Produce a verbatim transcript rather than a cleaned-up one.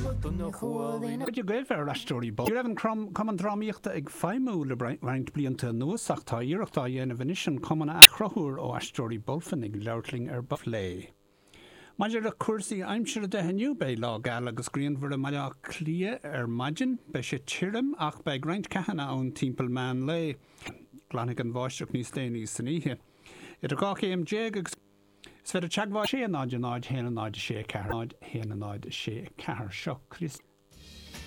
Cuid agaibh ar Aisteoirí Ní raibh an Cumann Drámaíochta ag feidhmiú le roinnt blianta anuas ach tá iarracht á dhéanamh anois an cumann a athchruthú ó Aisteoirí Bulfin ag labhairt linn ar ball. Maidir le cúrsaí aimsire de inniu beidh lá geal agus grianmhar i mBaile Átha Cliath ar maidin, beidh sé tirim ach beidh roinnt ceathanna ann timpeall meán lae. Glanfaidh an bháisteach níos déanaí san oíche. Idir dhá chéim déag agus Is féidir teagmháil sé náid náid haon náid sé ceathair náid haon náid sé ceathair seo Chris.